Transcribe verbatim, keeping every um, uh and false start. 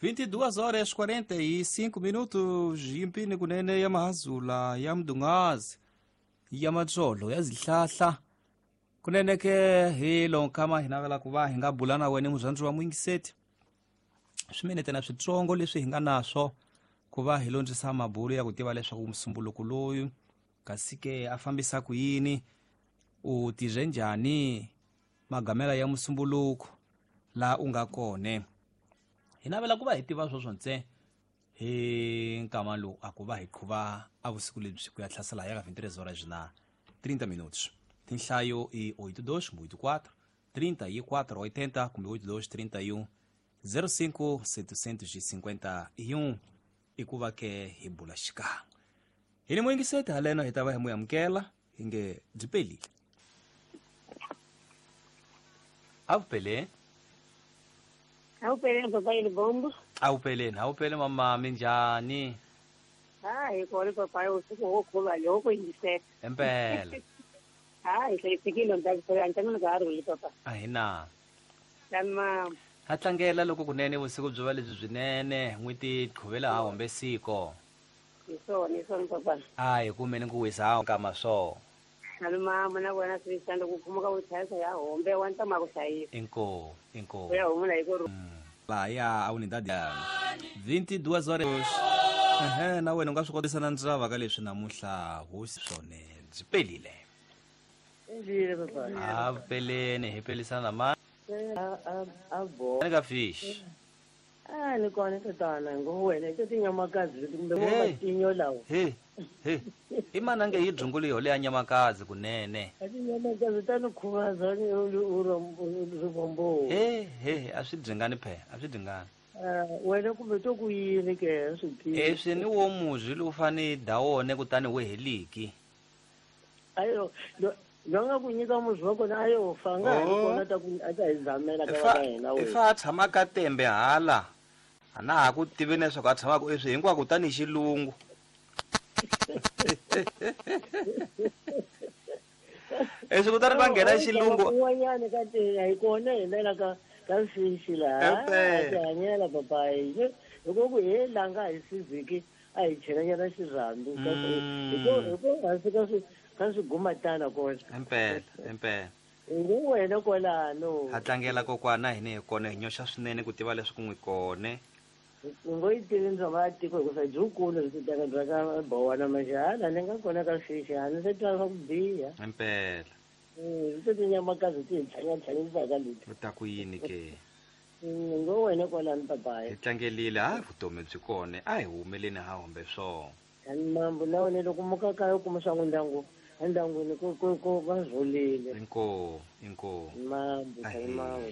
vinte e duas horas quarenta e cinco minutos yimpini kunene ya mahazula ya mdungazi ya matsolo ya zihlahla kunene ke hi lonkama hi navela ku va hi nga bula na wena muzandzi wa mwingiseti swiminete na switsongo leswi hi nga naswo ku va hi londzisa mabulu ya ku tiva leswaku musumbuluko loyu kasi ke a fambisa ku yini u tirhe njhani magamela ya musumbuluko la u nga kone hi navela ku va hi tiva swoswo ntse hi nkama lowu a ku va hi qhuva a vusiku lebyi ku ya hlasela ya ka vinte e três horas na trinta minutos. Tinhlayo i oito dois oito quatro trinta e quatro oitenta kumbe oito dois trinta e um zero cinco setecentos e cinquenta e um i ku va ke hi bula xikan'we hi ni muyingiseti haleno hi ta va hi mu amukela hi nge byi pelile a vupeleni. Awupeleni papa Libombo. Awupeleni, awupele mama minjhani? Ha hi kona papa usiku wo khuva loko yingisela. Impela. Ha hi hlayisekile ndza antana ka rhuli papa. A hi na. Lama ha tlangela loko kunene vusiku byo va lebyi byinene n'wi ti qhuvela ha hombe siko. Hi swona, hi swona papa. A hi kumeni ku wisa ha kama swo. Aluma muna vona swi sanda ku khumuka ku chayisa ya hombe wa ntama ku hlayisa. Inko, inko. Ya humula hi ku la ya a unidade vinte e duas horas. Ehe, na wena u nga swi kotisa na ndzava ka leswi namuntlha hosi swone byi pelile. Endlile papa. A peleni hi pelisana ma. A a a bo. Ni ka fish. A ni kona tatana ngo wena i tinyamakazi leti kumbe matinyo lawa. He. He. I mana nge yi dzungulu yo leya nyamakazi kunene. A tinyamakazi ta ni khuvaza ni rivombo. He he a swi dzingani phe, a swi dzingani. Wena kumbe to ku yini ke swi tivi. Eswi ni wo muzwi lowu fane da wona kutani we heliki. Ayo lo nga ku nyika muzwi wa kona a yo fa nga ha ri kona ta ku a ta hi zamela ka va hina we. Ifa a tshama ka tembe hala. A na ha ku tivi leswaku a tshamaka eswi hinkwako tani xilungu. Eswi kutani va nghena xilungu. Un'wanyana ka te hi kona hina la ka ka fishi laha. A ti hanyela papa hi ku ku he langa hi siziki a hi chelanyana xirhambi hi ku hi ku hansi ka swi ka swigumatana kona. Impela, impela. Ngo wena kwalano. Ha tlangela kokwana hina hi kona hi nyoxa swinene ku tiva leswi ku n'wi kone. Ngo yi tivi ndzoma ya tiko hikuva byikulu byi teka bya ka bowana majahala ni nga kona ka fishi a ni se twa swa ku biha. Impela. Eh, ti tinyamakazi ti hi tlhanya-tlhanyisaka leti. U ta ku yini ke? Ngo wena kwalano papa. Hi tlangelile ha vutomi byi kone a hi humeleni ha hombe swona. Mambo na wena loko muka kaya u kuma swa n'wi ndyangu endyangwini ku ku ku va rhulile. Inko, inko. Mambo, mambo.